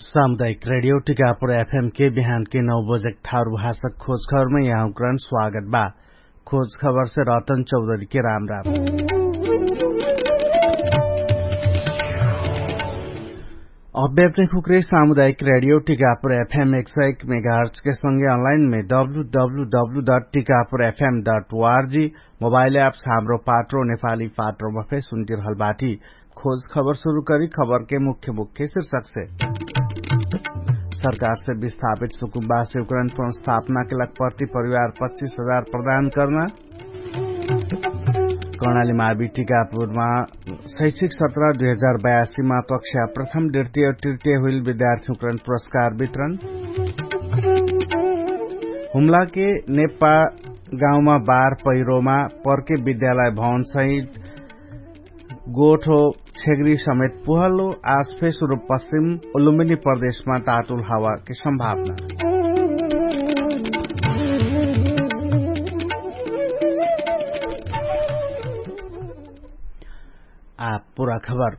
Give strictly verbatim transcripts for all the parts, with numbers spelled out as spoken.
सामुदायिक रेडियो टिकापुर एफएम के बिहान के नौ बजेक थारु भाषक खोज खबरमे यहाँकरण स्वागत बा। खोज खबरसे रतन चौधरी के राम राम। अब्यापने खुक्रे सामुदायिक रेडियो टिकापुर एफएम एक सय एक मेगाहर्च के संगे अनलाइन मे W W W dot Tikapur FM dot ORG mobile apps Hamro Patro नेपाली पाट्रोमा फे सुन्तिरहल बाटी। खोज खबर सुरु करी खबरके मुख्य मुख्य शिर्षकसे। सरकारसे विस्थापित सुकुम्बासे उकरण पुनर्स्थापनाके लग प्रति परिवार पच्चिस हजार प्रदान कर्ना। कर्णाली मावी टिकापुरमा शैक्षिक सत्र दुई हजार बयासीमा कक्षा प्रथम द्वितीय तृतीय हुइल विद्यार्थी उकरण पुरस्कार वितरण। हुम्लाके नेपा गाउँमा बार पहिरोमा पर्के विद्यालय भवनसहित गोठो छेग्री समेत पुहलो आज फेसुरु पश्चिम उलुम्बिनी प्रदेशमा तातुल हावाके सम्भावना। आ पुरा खबर।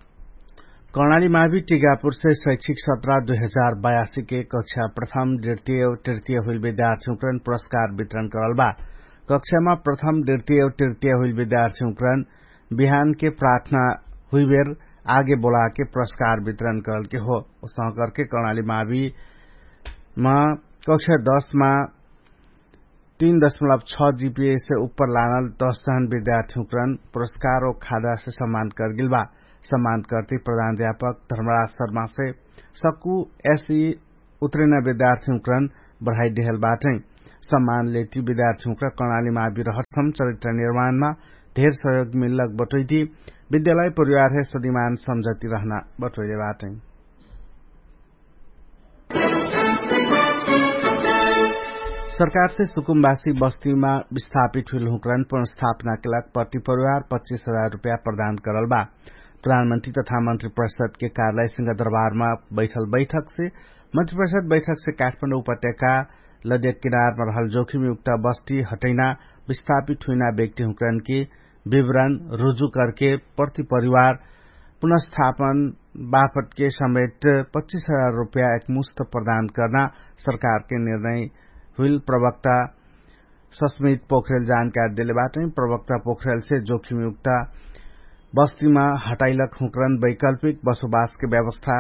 कर्णाली मावी टिकापुरसे शैक्षिक सत्र दुई हजार बयासीके कक्षा प्रथम द्वितीय तृतीय हुइल विद्यार्थी उकरण पुरस्कार वितरण करल बा। कक्षामा प्रथम द्वितीय तृतीय हुइल विद्यार्थी उकरण बिहानके प्रार्थना हुइबेर आगे बोलाके पुरस्कार वितरण करलके हो। उसनकरके कर्णाली मावीमा कक्षा दसमा तीन दशमलब छ जिपिएसे उप्पर लानल दस जहन विद्यार्थी उकरण पुरस्कार ओ खादासे सम्मान करगेल बा। सम्मान करती प्रधान अध्यापक धर्मराज शर्मासे सक्कु एसी उतरेना विद्यार्थी उकरण बढाइदेहल बाटै। सम्मान लेती विद्यार्थी उकरण कर्णाली मावी रहत हम चरित्र निर्माणमा धेर सहयोग मिल्लक बटोइती विद्यालय परिवारहे सदिमान सम्झती रहना बटोइले बाटै। सरकारसे सुकुम्बासी बस्तीमा विस्थापित हुइल हुँकरन पुनर्स्थापनाके लाग प्रति परिवार पच्चिस हजार रुपया प्रदान करल बा। प्रधानमन्त्री तथा मन्त्री परिषदके कार्यालय सिंहदरबारमा बैठल बैठकसे मन्त्री परिषद बैठकसे काठमाडौं उपत्यका लद्यक किनारमा रहल जोखिमयुक्त बस्ती हटैना विस्थापित हुइना व्यक्ति हुँकरनके विवरण रुजु करके प्रति परिवार पुनर्स्थापन बापतके समेत पच्चिस हजार रुपया एकमुस्त प्रदान कर्ना सरकारके निर्णय हुइल प्रवक्ता सस्मित पोखरेल जानकारी देले बाटै। प्रवक्ता पोखरेलसे जोखिमयुक्त बस्तीमा हटाइलक हुँकरन वैकल्पिक बसोबासके व्यवस्था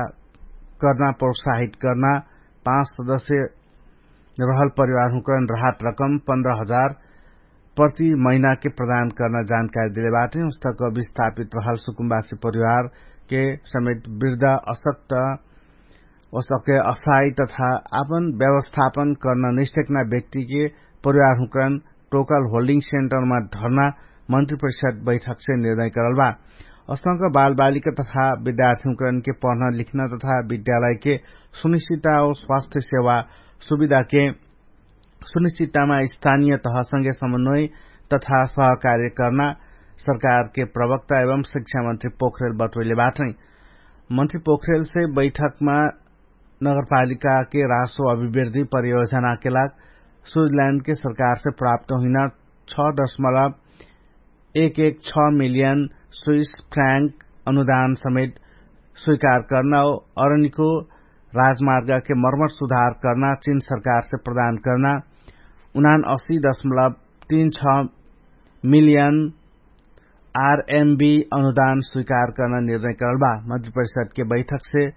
कर्ना प्रोत्साहित कर्ना पाँच सदस्य रहल परिवार हुँकरन राहत रकम पन्ध्र हजार प्रति महिनाके प्रदान कर्ना जानकारी देले बाटै। उस्तक विस्थापित रहल सुकुम्बासी परिवारके समेत वृद्धा असक्त ओसके असाई तथा आपन व्यवस्थापन कर्ना नैसक्ना व्यक्तिके परिवार हुँकरन टोकल होल्डिङ सेन्टरमा धर्ना मन्त्री परिषद बैठकसे निर्णय करल बा। असंक बालबालिका तथा विद्यार्थी हुँकरनके पढ्न लिख्न तथा विद्यालयके सुनिश्चिता ओ स्वास्थ्य सेवा सुविधाके सुनिश्चितामा स्थानीय तहसँगे समन्वय तथा सहकार्य कर्ना सरकारके प्रवक्ता एवं शिक्षामन्त्री पोखरेल बटोइले बाटै। मन्त्री पोखरेलसे बैठकमा नगरपालिकाके रासो अभिवृद्धि परियोजनाके लाग स्विजल्याण्डके सरकारसे प्राप्त हुइना छ दशमलब एक एक छ मिलियन स्विस फ्र्याङ्क अनुदान समेत स्वीकार कर्ना ओ अरनिको राजमार्गके मर्मर सुधार कर्ना चिन सरकारसे प्रदान कर्ना उनान असी दशमलब तीन छ मिलियन आरएमबी अनुदान स्वीकार कर्ना निर्णय कर्ल बा। मन्त्री परिषदके बैठकसे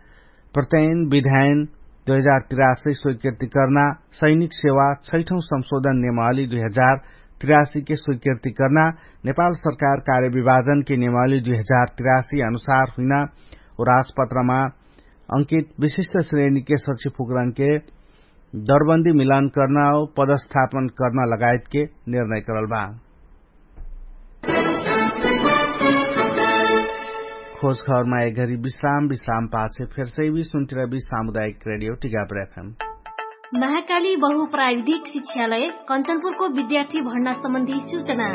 प्रत्ययन विधायन दुई हजार तिरासी स्वीकृति कर्ना सैनिक सेवा छैठौं संशोधन नेमाली दुई हजार तिरासीके स्वीकृति कर्ना नेपाल सरकार कार्यविभाजनके नेमाली दुई हजार तिरासी अनुसार हुइना ओ राजपत्रमा अंकित विशिष्ट श्रेणीके सचिव फुकरनके दरबन्दी मिलान कर्ना ओ पदस्थापन कर्ना लगायतके निर्णय करल बा। खोज खबरमा एघरी विश्राम विश्राम पाछे फेरसै भी सुन्तिर भी सामुदायिक रेडियो टिकापुर एफएम। महाकाली बहु प्राविधिक शिक्षालय कन्चनपुरको विद्यार्थी भर्ना सम्बन्धी सूचना।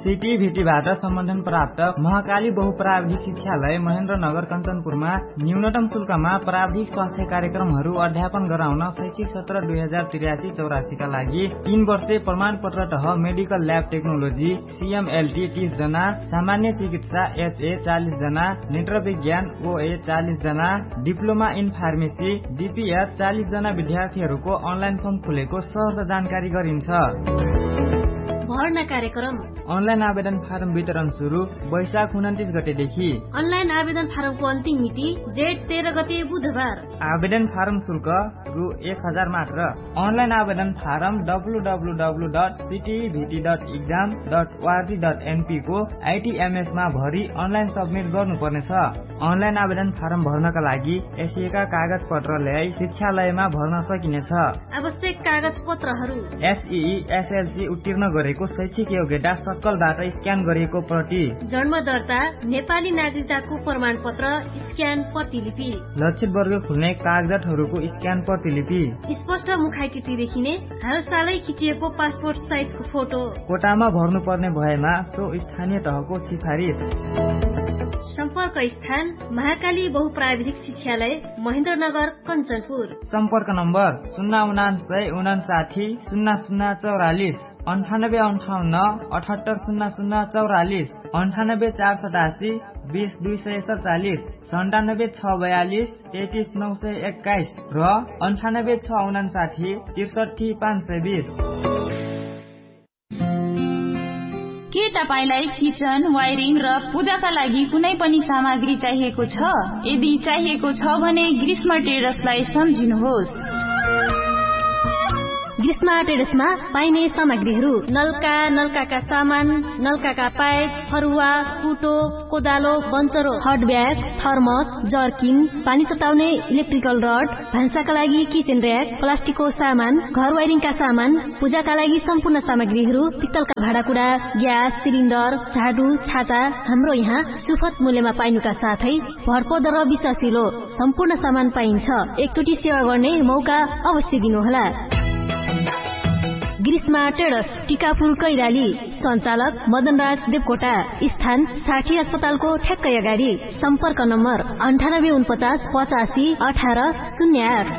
सिटी भिटीबाट सम्बन्धन प्राप्त महाकाली बहुप्राविधिक शिक्षालय महेन्द्रनगर कञ्चनपुरमा न्यूनतम शुल्कमा प्राविधिक स्वास्थ्य कार्यक्रमहरू अध्यापन गराउन शैक्षिक सत्र दुई हजार त्रियासी चौरासीका लागि तीन वर्षे प्रमाणपत्र तह मेडिकल ल्याब टेक्नोलोजी सिएमएलटी तीस जना, सामान्य चिकित्सा एचए चालिस जना, नेत्र विज्ञान ओए चालिस जना, डिप्लोमा इन फार्मेसी डिपिएच चालिस जना विद्यार्थीहरूको अनलाइन फर्म खुलेको सहर्ष जानकारी गरिन्छ। भर्ना कार्यक्रम। अनलाइन आवेदन फारम वितरण सुरु वैशाख उनन्तिस गतेदेखि। अनलाइन आवेदन फारमको अन्तिम मिति जेठ तेह्र गते बुधबार। आवेदन फारम शुल्क रु एक हजार मात्र। अनलाइन आवेदन form W W W dot CTEVT dot exam dot ORG dot एनपीको आइटिएमएसमा भरि अनलाइन सब्मिट गर्नुपर्नेछ। अनलाइन आवेदन फारम भर्नका लागि एसिएका कागजपत्र ल्याई शिक्षालयमा भर्न सकिनेछ। आवश्यक कागजपत्रहरू। एसई एसएलसी उत्तीर्ण गरेको शैक्षिक योग्यता सक्कलबाट स्क्यान गरिएको प्रति। जन्म दर्ता, नेपाली नागरिकताको प्रमाणपत्र, स्क्यान प्रतिलिपि। लक्षित वर्ग खुल्ने कागजातहरूको स्क्यान प्रतिलिपि। स्पष्ट मुखाकृति देखिने हालसालै खिचिएको पासपोर्ट साइजको फोटो। कोटामा भर्नुपर्ने भएमा सो स्थानीय तहको सिफारिस। सम्पर्क स्थान महाकाली बहुप्राविधिक शिक्षालय महेन्द्रनगर कञ्चनपुर। सम्पर्क नम्बर शून्य उनान्सय उनान्साठी शून्य शून्य चौरालिस, अन्ठानब्बे अन्ठाउन्न अठहत्तर शून्य शून्य चौरालिस, अन्ठानब्बे चार सतासी बिस दुई सय सतचालिस, सन्तानब्बे छ बयालिस तेतिस नौ सय एक्काइस र अन्ठानब्बे छ उनान्साठी त्रिसठी पाँच सय बिस। के तपाईंलाई किचन वायरिङ र पूजाका लागि कुनै पनि सामग्री चाहिएको छ? यदि चाहिएको छ भने ग्रीष्म ट्रेडर्सलाई सम्झिनुहोस्। ग्रीष्म ट्रेडर्समा पाइने सामग्रीहरू नलका, नलकाका सामान, नलकाका पाइप, फरुवा, कुटो, कोदालो, बन्चरो, हट ब्याग, थर्मस, जर्किन, पानी तताउने इलेक्ट्रिकल रड, भान्साका लागि किचन र्‍याक, प्लास्टिकको सामान, घर वायरिङका सामान, पूजाका लागि सम्पूर्ण सामग्रीहरू, पित्तलका भाँडाकुडा, ग्यास सिलिन्डर, झाडु, छाता, हाम्रो यहाँ सुफत मूल्यमा पाइनुका साथै भरपर्दो र विश्वासिलो सम्पूर्ण सामान पाइन्छ। एकचोटि सेवा गर्ने मौका अवश्य दिनुहोला। ग्रीष्मा ट्रेडर्स, टिकापुर कैलाली। सञ्चालक मदनराज देवकोटा। स्थान साठी अस्पतालको ठ्याक्कै अगाडि। सम्पर्क नम्बर अन्ठानब्बे उनपचास पचासी अठार शून्य आठ।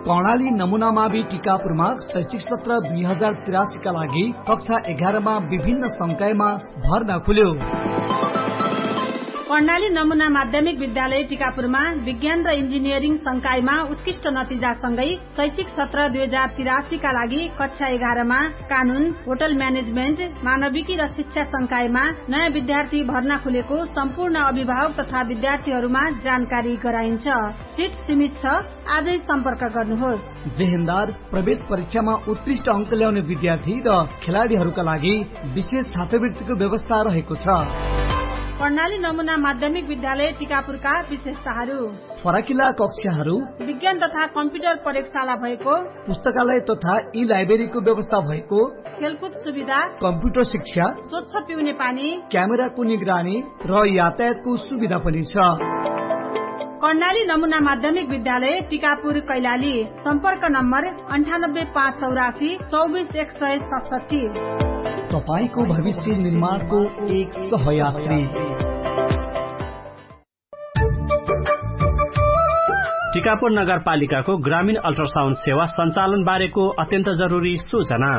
कर्णाली नमुना मावि टिकापुरमा शैक्षिक सत्र दुई हजार तिरासीका लागि कक्षा एघारमा विभिन्न संकायमा भर्ना खुल्यो। कर्णाली नमुना माध्यमिक विद्यालय टिकापुरमा विज्ञान र इन्जिनियरिङ संकायमा उत्कृष्ट नतिजासँगै शैक्षिक सत्र दुई हजार तिरासीका लागि कक्षा एघारमा कानुन, होटल म्यानेजमेन्ट, मानविकी र शिक्षा संकायमा नयाँ विद्यार्थी भर्ना खुलेको सम्पूर्ण अभिभावक तथा विद्यार्थीहरूमा जानकारी गराइन्छ। सिट सीमित छ। आजै सम्पर्क गर्नुहोस्। जेहेन्दार प्रवेश परीक्षामा उत्कृष्ट अङ्क ल्याउने विद्यार्थी र खेलाडीहरूका लागि विशेष छात्रवृत्तिको व्यवस्था रहेको छ। कर्णाली नमुना माध्यमिक विद्यालय टिकापुरका विशेषताहरू। फराकिला कक्षाहरू। विज्ञान तथा कम्प्युटर प्रयोगशाला भएको। पुस्तकालय तथा ई लाइब्रेरीको व्यवस्था भएको। खेलकुद सुविधा। कम्प्युटर शिक्षा। स्वच्छ पिउने पानी। क्यामेराको निगरानी र यातायातको सुविधा पनि छ। कर्णाली नमुना माध्यमिक विद्यालय टिकापुर कैलाली। सम्पर्क नम्बर अन्ठानब्बे पाँच चौरासी चौबिस एक सय सतसट्ठी। तपाईंको भविष्य निर्माणको एक सहयात्री। टिकापुर नगरपालिकाको ग्रामीण अल्ट्रासाउन्ड सेवा सञ्चालन बारेको अत्यन्त जरुरी सूचना।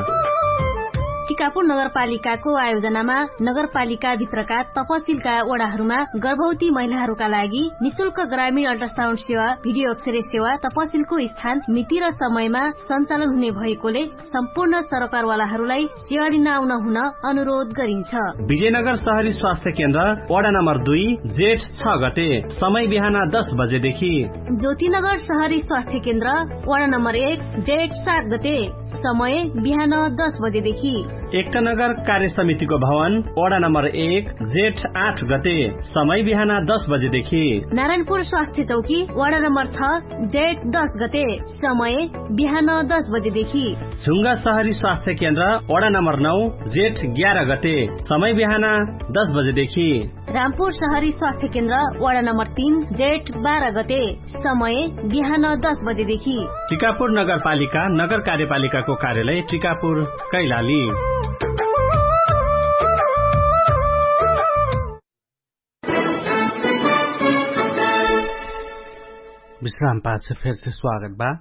टिकापुर नगरपालिकाको आयोजनामा नगरपालिकाभित्रका तपसिलका वडाहरूमा गर्भवती महिलाहरूका लागि निशुल्क ग्रामीण अल्ट्रासाउन्ड सेवा, भिडियो अक्षरे सेवा तपसिलको स्थान मिति र समयमा सञ्चालन हुने भएकोले सम्पूर्ण सरकारवालाहरूलाई सेवा लिन आउन हुन अनुरोध गरिन्छ। विजयनगर सहरी स्वास्थ्य केन्द्र वडा नम्बर दुई, जेठ छ गते, समय बिहान दस बजेदेखि। ज्योतिनगर सहरी स्वास्थ्य केन्द्र वडा नम्बर एक, जेठ सात गते, समय बिहान दस बजेदेखि। एकतानगर कार्य समितिको भवन वडा नम्बर एक, जेठ आठ गते, समय बिहान दस बजेदेखि। नारायणपुर स्वास्थ्य चौकी वडा नम्बर छ, जेठ दस गते, समय बिहान दस बजेदेखि। झुङ्गा सहरी स्वास्थ्य केन्द्र वडा नम्बर नौ, जेठ ग्यार गते, समय बिहान दस बजेदेखि। रामपुर सहरी स्वास्थ्य केन्द्र, वडा नम्बर तीन, जेठ बाह्र गते। समय बिहान दस बजेदेखि। टिकापुर नगरपालिका नगर कार्यपालिकाको कार्यालय टिकापुर, कैलाली। विश्रामपाछ फेरसे स्वागत बा।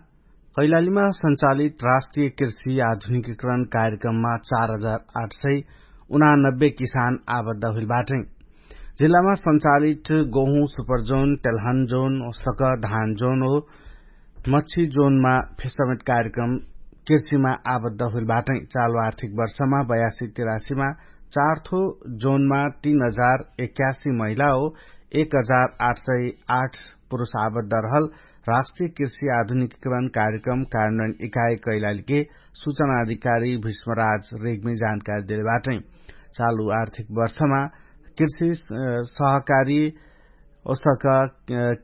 कैलालीमा सञ्चालित राष्ट्रिय कृषि आधुनिकीकरण कार्यक्रममा चार हजार आठ सय उनानब्बे किसान आबद्ध हुइल बाटै। जिल्लामा सञ्चालित गोहुँ सुपरजोन, तेलहन जोन, सक धान जोन हो मच्छी जोनमा फेसमेट कार्यक्रम कृषिमा आबद्ध हुइल बाटै। चालु आर्थिक वर्षमा बयासी तिरासीमा चार थो जोनमा तीन हजार एक्यासी महिला हो एक हजार आठ सय आठ पुरुष आबद्ध रहल राष्ट्रिय कृषि आधुनिकीकरण कार्यक्रम कार्यान्वयन इकाइ कैलालीके सूचना अधिकारी भीष्मराज रेग्मी जानकारी देले बाटै। चालु आर्थिक वर्षमा कृषि सहकारी ओसक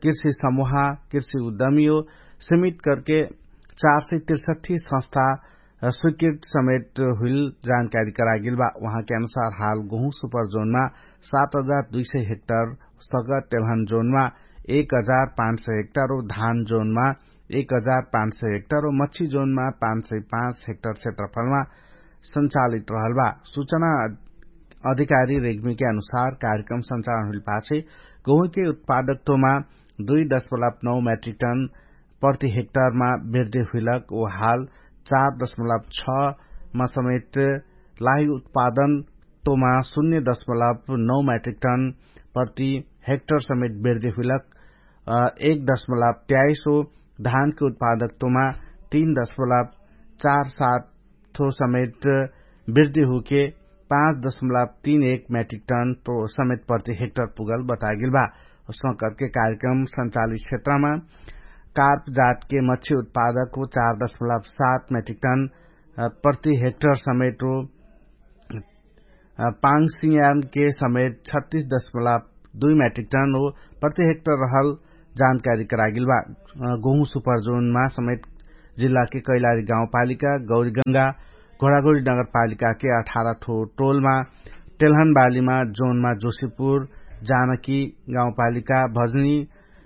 कृषि समूह कृषि उद्यमी हो सीमित करके चार सय तिरसठी संस्था स्वीकृत समेट हुइल जानकारी करागेल बा। उहाँके अनुसार हाल गोहुँ सुपरजोनमा सात हजार दुई सय हेक्टर सक तेलहन जोनमा एक हजार पाँच सय हेक्टर हो धान जोनमा एक हजार पाँच सय हेक्टर हो मच्छी जोनमा पाँच सय पाँच हेक्टर क्षेत्रफलमा सञ्चालित रहल बा। सूचना अधिकारी रेग्मीके अनुसार कार्यक्रम सञ्चालन हुइल पाछे गोहुँके उत्पादकत्वमा दुई दशमलव नौ मेट्रिक टन प्रति हेक्टरमा वृद्धि हुइलक ओ हाल चार दशमलव छ मा समेट लाही उत्पादन तोमा शून्य दशमलव नौ मेट्रिक टन प्रति हेक्टर समेट वृद्धि हुइलक एक दशमलव त्याइस हो धानके उत्पादकत्वमा तीन दशमलव चार सात थो समेट वृद्धि हुके पाँच दशमलव तीन एक मेट्रिक टन समेट प्रति हेक्टर पुगल बतागेल बा। उसमा करके कार्यक्रम सञ्चालित क्षेत्रमा कार्प जातके मच्छी उत्पादक हो चार दशमलव सात मेट्रिक टन प्रति हेक्टर समेट हो पाङ सियानके समेत छत्तीस दशमलव दुई मेट्रिक टन हो प्रति हेक्टर रहल जानकारी करागेल बा। गोहुँ सुपरजोनमा समेत जिल्लाके कैलारी गाउँपालिका गौरीगङ्गा घोडाघोडी नगरपालिकाके अठार ठो टोलमा तेलहनबालीमा जोनमा जोशीपुर जानकी गाउँपालिका भजनी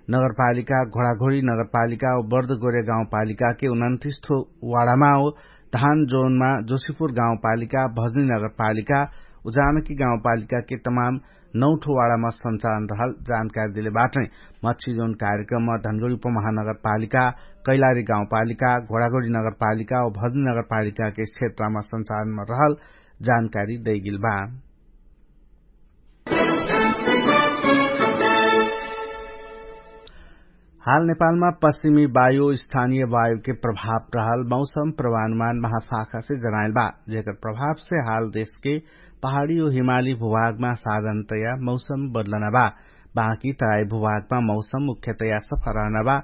नगरपालिका घोडाघोडी नगरपालिका ओ बर्दगोरे गाउँपालिकाके उनन्तिस ठो वाडामा हो धान जोनमा जोशीपुर गाउँपालिका भजनी नगरपालिका उजानकी गाउँपालिकाके तमाम नौठो वाडामा सञ्चालन रहल जानकारी देले बाटै। मच्छी जोन कार्यक्रममा धनगडी उपमहानगरपालिका कैलारी गाउँपालिका घोडाघोडी नगरपालिका ओ भजनी नगरपालिकाके क्षेत्रमा सञ्चालनमा रहल जानकारी दैगेल बा। हाल नेपालमा पश्चिमी वायु स्थानीय वायुके प्रभाव रहल मौसम प्रवानुमान महाशाखासे जनाइल बा। जेकर प्रभावसे हाल देशके पहाडी ओ हिमाली भूभागमा साधनतया मौसम बदलना बा। बाँकी तराई भूभागमा मौसम मुख्यतया सफा रहना बा।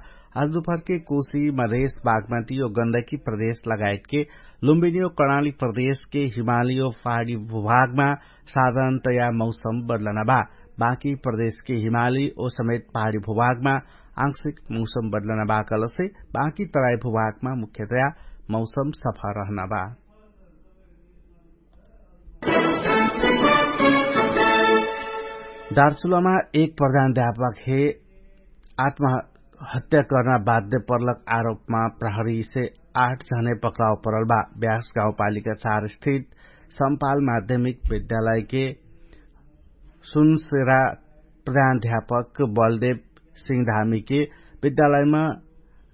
आज दुपहरके कोशी मधेश बागमती ओ गन्दकी प्रदेश लगायतके लुम्बिनी ओ कर्णाली प्रदेशके हिमाली ओ पहाडी भूभागमा साधनतया मौसम बदलना बा। बाँकी प्रदेशके हिमाली ओ समेत पहाडी भूभागमा आंशिक मौसम बदलना बा कहलसे बाँकी तराई भूभागमा मुख्यतया मौसम सफा रहना बा। दार्चुलामा एक प्रधान अध्यापक हे आत्महत्या कर्ना बाध्य पर्लक आरोपमा प्रहरीसे आठ झने पक्राउ परल बा। ब्यास गाउँपालिका चार स्थित सम्पाल माध्यमिक विद्यालयके सुनसेरा प्रधान अध्यापक बलदेव सिंह धामीके विद्यालयमा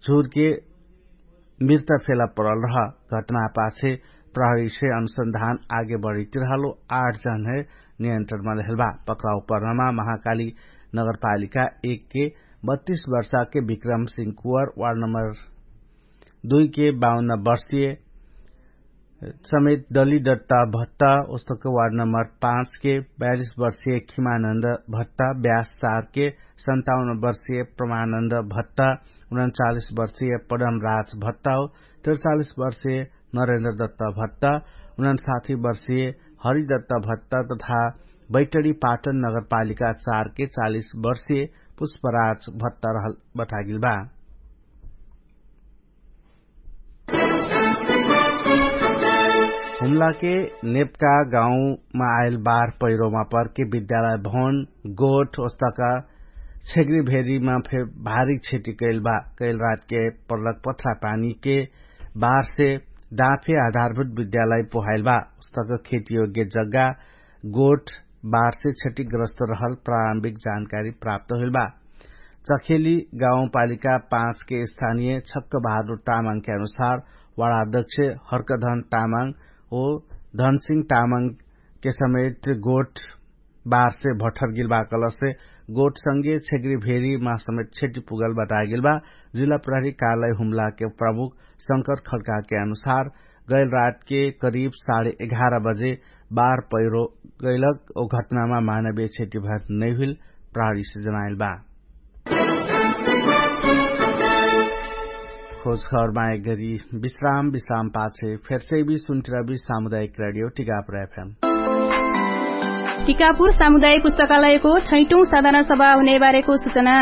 झुरके मृत फेला परल रह। घटनापाछे प्रहरीसे अनुसन्धान आगे बढितिरहलो आठ जन हे नियन्त्रणमा लेहल बा। पक्राउ पर्नमा महाकाली नगरपालिका एकके बत्तीस वर्षाके विक्रम सिंह कुवर वार्ड नम्बर दुईके बाउन्न वर्षीय समेत दलिदत्ता भत्ता ओस्तक वार्ड नम्बर पाँचके बयालिस वर्षीय खिमानन्द भत्ता ब्यास चारके सन्ताउन्न वर्षीय प्रमानन्द भत्ता उनन्चालिस वर्षीय पदमराज भत्ता हो त्रिचालिस वर्षीय नरेन्द्र दत्ता भत्ता उनन्साठी वर्षीय हरिदत्ता भत्ता तथा बैटडी पाटन नगरपालिका चारके चालिस वर्षीय पुष्पराज भत्ता रहल बतागिल बा। हुम्लाके नेपका गाउँमा आइल बार पैरोमा परके विद्यालय भवन गोठ ओस्तका छेग्री भेरीमा फे भारी क्षति कैल बा। कैल रातके परलक पथरा पानीके बारसे दाँफे आधारभूत विद्यालय पोहाइल बा। ओस्तक खेतीयोग्य जग्गा गोठ बारसे क्षतिग्रस्त रहल प्रारम्भिक जानकारी प्राप्त होइल बा। चखेली गाउँपालिका पाँचके स्थानीय छक्क बहादुर तामाङके अनुसार वाडाध्यक्ष हर्कधन तामाङ ओ धनसिङ तामाङके समेत गोठ बारसे भठर गिल बा कलसे गोठसँगे छेग्री भेरीमा समेत क्षति पुगल बतागेल बा। जिल्ला प्रहरी कार्यालय हुम्लाके प्रमुख शंकर खड्काके अनुसार गैल रातके करिब साढे एघार बजे बार पैरो गैलक ओ घटनामा मानवीय क्षति भर नैहुइल प्रहरीसे जनाइल बा। खोजखबरमा एक गरी विश्राम विश्राम पाछे फेरसे भी सुन्थिरबी सामुदायिक रेडियो टिकापुर एफएम। टिकापुर सामुदायिक पुस्तकालयको छैटौँ साधारण सभा हुनेबारेको सुचना।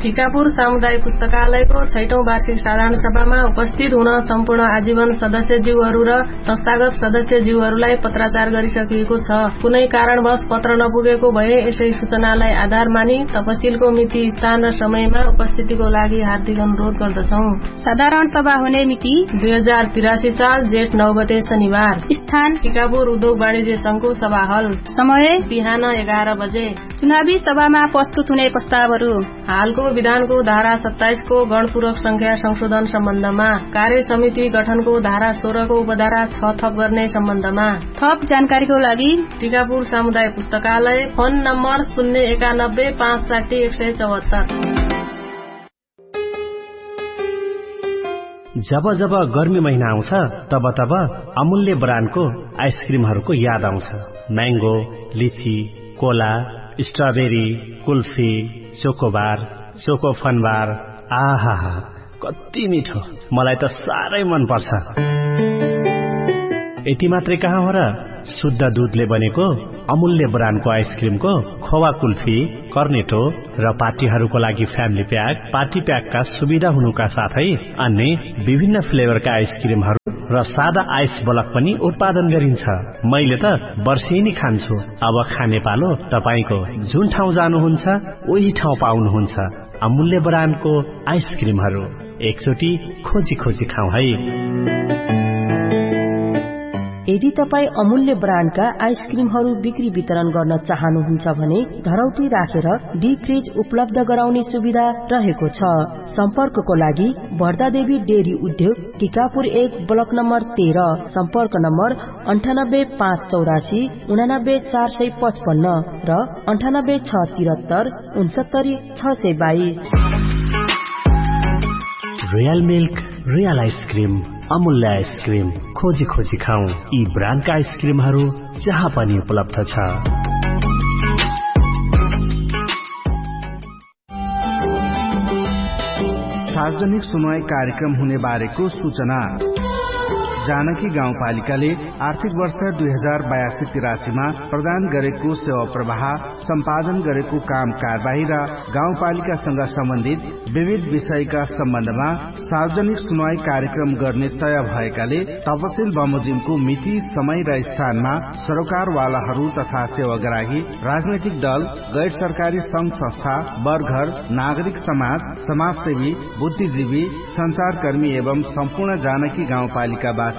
टिकापुर सामुदायिक पुस्तकालयको छैटौँ वार्षिक साधारण सभामा उपस्थित हुन सम्पूर्ण आजीवन सदस्यज्यूहरू र संस्थागत सदस्यज्यूहरूलाई पत्राचार गरिसकिएको छ। कुनै कारणवश पत्र नपुगेको भए यसै सूचनालाई आधार मानि तपसिलको मिति स्थान र समयमा उपस्थितिको लागि हार्दिक अनुरोध गर्दछौँ। साधारण सभा हुने मिति दुई हजार तिरासी साल जेठ नौ गते शनिबार। स्थान टिकापुर उद्योग वाणिज्य संघको सभाहल। समय बिहान एघार बजे। चुनावी सभामा प्रस्तुत हुने प्रस्तावहरू। हालको विधानको धारा सत्ताइसको गणपूरक संख्या संशोधन सम्बन्धमा, कार्य समिति गठनको धारा सोह्रको उपधारा छ थप गर्ने सम्बन्धमा थप जानकारीको लागि टिकापुर सामुदायिक पुस्तकालय, फोन नम्बर शून्य एकानब्बे पाँच साठी एक सय चौहत्तर। जब जब गर्मी महिना आउँछ, तब तब अमूल्य ब्रान्डको आइसक्रिमहरूको याद आउँछ। म्याङ्गो, लिची, कोला, स्ट्रबेरी, कुल्फी, चोकोबार, चोकोफनबार। आहा, कति मिठो। मलाई त साह्रै मन पर्छ। यति मात्रै कहाँ हो र, शुद्ध दुधले बनेको अमूल्य ब्रान्डको आइसक्रिमको खोवा कुल्फी, कर्नेटो र पार्टीहरूको लागि फ्यामिली प्याक, पार्टी प्याकका सुविधा हुनुका साथै अन्य विभिन्न फ्लेभरका आइसक्रिमहरू र सादा आइस बलक पनि उत्पादन गरिन्छ। मैले त वर्षेनी खान्छु। अब खाने पालो तपाईंको। जुन ठाउँ जानुहुन्छ उही ठाउँ पाउनुहुन्छ अमूल्य ब्रान्डको आइसक्रिमहरू। एकचोटि खोजी खोजी खाउँ है। यदि तपाईं अमूल्य ब्रान्डका आइसक्रिमहरू बिक्री वितरण गर्न चाहनुहुन्छ भने धरौटी राखेर डिप फ्रिज उपलब्ध गराउने सुविधा रहेको छ। सम्पर्कको लागि भर्दादेवी डेरी उद्योग, टिकापुर एक, ब्लक नम्बर तेह्र। सम्पर्क नम्बर अन्ठानब्बे पाँच चौरासी उनानब्बे चार सय पचपन्न र अन्ठानब्बे छ तिरत्तर उनसत्तरी छ सय बाइस। रोयल मिल्क, रोयल आइसक्रिम, अमूल्य आइसक्रिम। खोजी खोजी खाउँ यी ब्रान्डका आइसक्रिमहरू जहाँ पनि उपलब्ध छ। सार्वजनिक सुनवाई कार्यक्रम हुने बारेको सूचना। जानकी गाउँपालिकाले आर्थिक वर्ष दुई हजार बयासी तिरासीमा प्रदान गरेको सेवा प्रवाह, सम्पादन गरेको काम कारवाही र गाउँपालिकासँग सम्बन्धित विविध विषयका सम्बन्धमा सार्वजनिक सुनवाई कार्यक्रम गर्ने तय भएकाले तपसिल बमोजिमको मिति, समय र स्थानमा सरोकारवालाहरू तथा सेवाग्राही, राजनैतिक दल, गैर सरकारी संघ संस्था, बरघर, नागरिक समाज, समाजसेवी, बुद्धिजीवी, सञ्चारकर्मी एवं सम्पूर्ण जानकी गाउँपालिकावासीको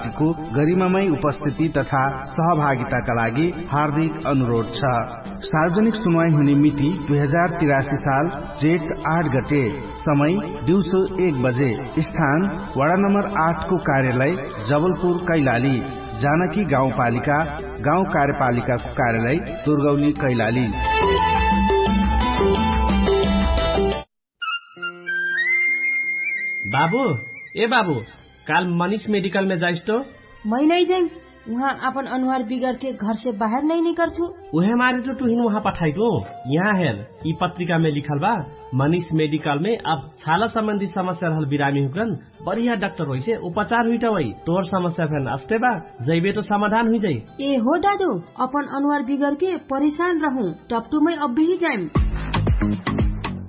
गरिमामय उपस्थिति तथा सहभागिताका लागि हार्दिक अनुरोध छ। सार्वजनिक सुनवाई हुने मिति दुई हजार तिरासी साल जेठ आठ गते, समय दिउँसो एक बजे। स्थान वडा नम्बर आठको कार्यालय जबलपुर कैलाली, जानकी गाउँपालिका, गाउँ कार्यपालिकाको कार्यालय दुर्गौली कैलाली। बाबु, ए बाबु, काल मनिष मेडिकलमे जाइस तो। मै नै जाइम। उहाँ आपन अनुहार बिगरके घरसे बाहेर नै निकर्छु। उहे मारे तो टुहिन उहाँ पठाइटु। यहाँ हेर, यि पत्रिकामे लिखल बा, मनिष मेडिकलमे अब छाला सम्बन्धी समस्या रहल बिरामी हुकन, बढिया डाक्टर होइसे उपचार हुइटवै। तोर समस्या फेन अस्ते बा, जैबे तो समाधान हुइजै। ए हो दादु, अपन अनुहार बिगरके परेशान रहु, टपटुमै अब्बेही जाइम।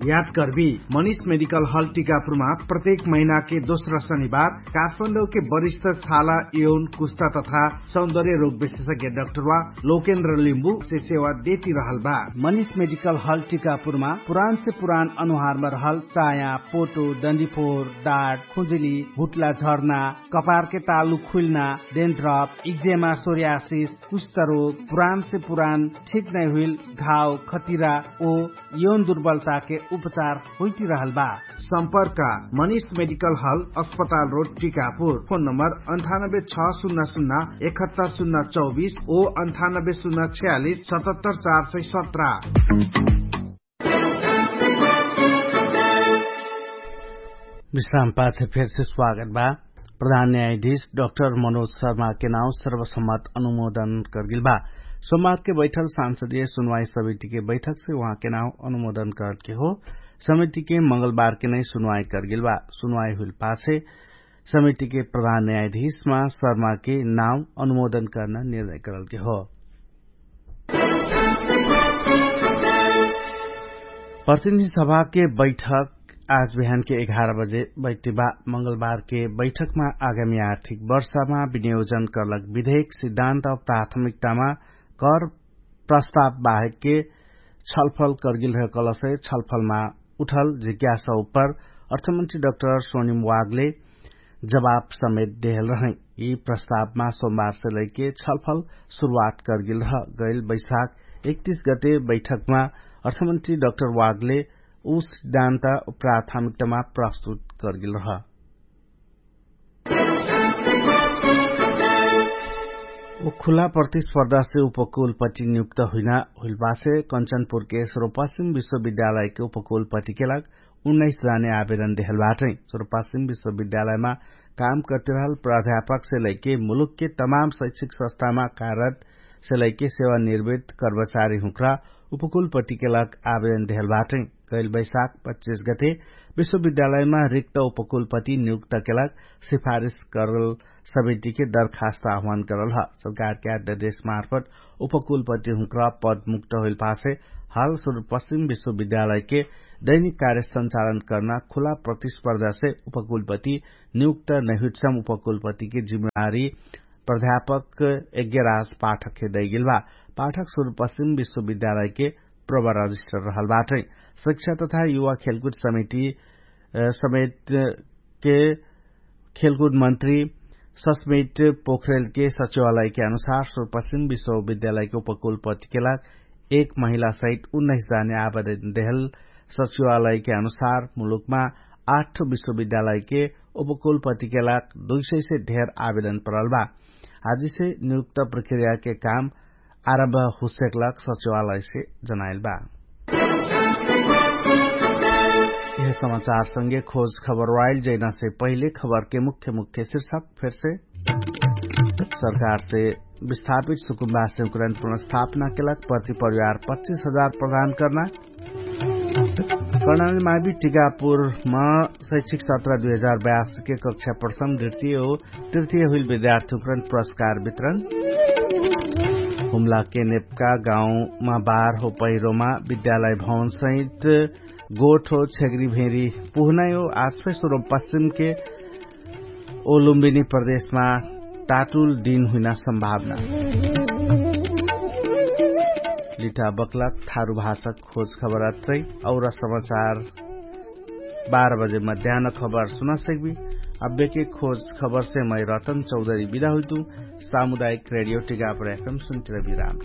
याद कर्बी, मनिष मेडिकल हल टिकापुरमा प्रत्येक महिनाके दोस्रा शनिबार काठमाडौके वरिष्ठ छाला यौन कुस्ता तथा सौन्दर्य रोग विशेषज्ञ डाक्टरवा लोकेन्द्र लिम्बु से सेवा देती रहल बा। मनिष मेडिकल हल टिकापुरमा पुरान से पुरान अनुहारमा रहल चाया, पोटो, डन्डीफोर, डाट, खुजुली, हुट्ला झर्ना, कपारके तालु खुइल्ना, डेन्ड्रप, इक्जेमा, सोर्यासिस, कुष्ठरोग, पुरान से पुरान ठीक नै हुइल घाव, खतिरा ओ यौन दुर्बलताके उपचार होइतिरहल बा। सम्पर्क मनिष मेडिकल हल, अस्पताल रोड, टिकापुर। फोन नम्बर अन्ठानब्बे छ सुन्ना सुन्ना एकहत्तर सुन्ना चौबिस ओ अन्ठानब्बे सुन्ना छयालिस सतहत्तर चार सय सत्र। विश्राम पाछे फेरसे स्वागत बा। प्रधान न्यायाधीश डक्टर मनोज शर्माके नाउँ सर्वसम्मत अनुमोदन करगेल बा। सोमबारके बैठल सांसदीय सुनवाई समितिके बैठकसे उहाँके नाउँ अनुमोदन करलके हो। समितिके मंगलबारके नै सुनवाई करगेल बा। सुनवाई हुइल पाछे समितिके प्रधान न्यायाधीशमा शर्माके नाउँ अनुमोदन कर्ना निर्णय करलके हो। प्रतिनिधि सभाके बैठक आज बिहानके एघार बजे बैठिबा। मंगलबारके बैठकमा आगामी आर्थिक वर्षमा विनियोजन करलक विधेयक सिद्धान्त प्राथमिकतामा कर प्रस्ताव बाहेकके छलफल करगेल रह कलसे छलफलमा उठल जिज्ञासा उपर अर्थमन्त्री डक्टर सोनिम वागले जवाफ समेत देहल रहै। यि प्रस्तावमा सोमबारसे लैके छलफल सुरुवात करगेल रह। गैल बैशाख एकतिस गते बैठकमा अर्थमन्त्री डक्टर वागले उ सिद्धान्त प्राथमिकतामा प्रस्तुत करगेल रह। उ खुला प्रतिस्पर्धासे उपकुलपति नियुक्त हुइना हुइलबासे कन्चनपुरके सर्वपश्चिम विश्वविद्यालयके उपकुलपतिके लाग उन्नाइस जाने आवेदन देहल बाटै। सर्वपश्चिम विश्वविद्यालयमा काम करतिरहल प्राध्यापकसे लैके मुलुकके तमाम शैक्षिक संस्थामा कार्यरतसे लैके सेवानिर्वित कर्मचारी हुँक्रा उपकुलपतिके लाग आवेदन देहल बाटै। गैल बैशाख पच्चिस गते विश्वविद्यालयमा रिक्त उपकुलपति नियुक्तके लाग सिफारिस करल समितिके दरखास्त आह्वान करल ह। सरकारके आद्यदेशमार्फत उपकुलपति हुँक्रा पद मुक्त होइल पासे हाल सुरुपश्चिम विश्वविद्यालयके दैनिक कार्य संचालन कर्ना खुला प्रतिस्पर्धासे उपकुलपति नियुक्त नैहुइटसम उपकुलपतिके जिम्मेवारी प्राध्यापक यज्ञराज पाठकके दैगेल बा। पाठक सुरुपश्चिम विश्वविद्यालयके प्रवर रजिस्टर रहल बाटै। शिक्षा तथा युवा खेलकुद समिति समेतके खेलकुद मन्त्री सस्मित पोखरेलके सचिवालयके अनुसार सुरुपश्चिम विश्वविद्यालयके उपकुलपतिके लाग एक महिला सहित उन्नाइस जाने आवेदन देहल सचिवालयके अनुसार मुलुकमा आठ विश्वविद्यालयके उपकुलपतिके लाग दुई सय से धेर आवेदन परल बा। आजिसे नियुक्त प्रक्रियाके काम आरम्भ हुसेक लाग सचिवालयसे जनाइल बा। यह समाचारसँगे खोज खबर वाइल जैनासे पहिले खबरके मुख्य मुख्य शीर्षक फेरसे सरकारसे विस्थापित सुकुम्बासे उकरण पुनर्स्थापनाके लाग प्रति परिवार पच्चिस हजार प्रदान कर्ना। कर्णाली मावि टिकापुरमा शैक्षिक सत्र दुई हजार बयासके कक्षा प्रथम द्वितीय हो तृतीय हुइल विद्यार्थी उकरण पुरस्कार वितरण। हुम्लाके नेपका गाउँमा बार हो पहिरोमा विद्यालय भवनसहित गोठ हो छेग्री भेरी पुहनाइ हो आजफै सुरुपश्चिमके ओ लुम्बिनी प्रदेशमा टाटुल दिन हुइना सम्भावना। लिटा बक्लक थारु भाषक खोज खबर अत्रै। और समाचार बाह्र बजे मध्यान खबर सुना सक्बी। अब्बेके खोज खबरसे मै रतन चौधरी बिदा हुइतु। सामुदायिक रेडियो टिकापर एफएम सुन्टिर बिराम।